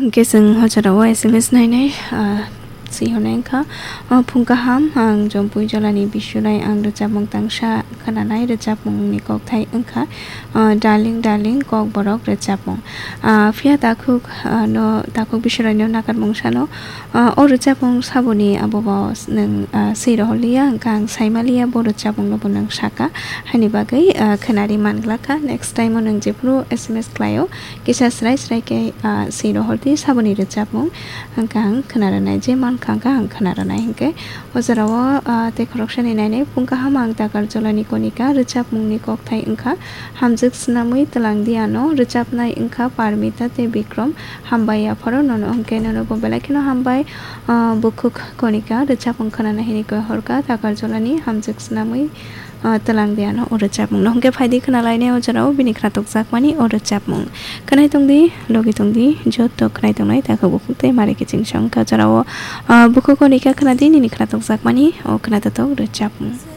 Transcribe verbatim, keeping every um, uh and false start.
Hwnkhe chwng o jorao S M S nainai, ah, si hwnwi wngkha, ah, phung kaham, ang Jompui Jolani Bisurai, ang rwchapmung tangsa khwnanai, rwchapmungni kokthai wngkha, ah, Darling, Darling, Kokborok rwchapmung. Ah, phiya takhuk, ah, no, takhuk Bisurai no nakarmung sano, ah, o rwchapmung saboni abo bo nwng, ah, swi rohorliya, wngkha ang saimaliya bo rwchapmung no bo nwng saka, haini bagwi, ah, khwnari manglakha. Next time o nwng jephuru S M S khlaio, kisa srai srai khe, ah, swi rohordi saboni rwchapmung. Hwnkhe ang khwna rwnai, je mankha hwnkhe ang khwna rwnai. Hwnkhe o jorao, ah, tei khoroksani nainai phung kaham ang Takarjolani Konika, rwchapmungni kokthai wngkha Hamjwk Snamwi Twlangdi Ano, rwchapnai wngkha Parmita tei Bikrom. Hambai apharo nono, hwnkhe nono bo belai kheno hambai, ah, bukhuk Konika, rwchapmung khwnana hini koi horkha Takarjolani Hamjwk Snamwi ah, twlang de ano o rwchapmung no. Hwnkhe phaidi khwnalainai o jorao bini khwnatok jakmani o rwchapmung. Khwnai tongdi, logi tongdi, joto khwnai tongnai takhuk bukhuk tei mari kiching song ka jorao, ah, bukhuk Konika khwnadi nini khwnatok jakmani o khwnatotok rwchapmung.